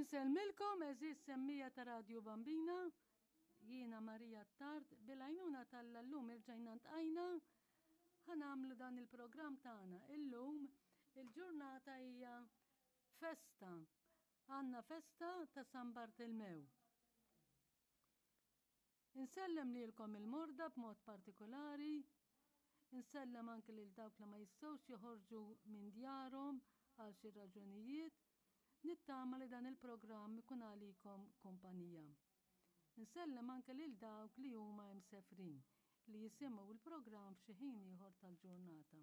Insellmilkom għeżież semmija ta' Radju Bambina, jiena Marija Attard, bil-għajnuna t'Alla llum irġajna ntqajna ħa nagħmlu dan il-programm tagħna. Illum il-ġurnata hija festa. Għandna festa ta' San Bartilmew. Insellem lilkom il-morda b'mod partikolari, insellem anke lil dawk li ma jistgħux joħorġu minn djarhom għal xi raġunijiet. Nittama li dan il-programm ikun għalikom kumpanija. Insellem anke lil dawk li huma imsefrin li jisimgħu l-programm f'xi ħin ieħor tal-ġurnata.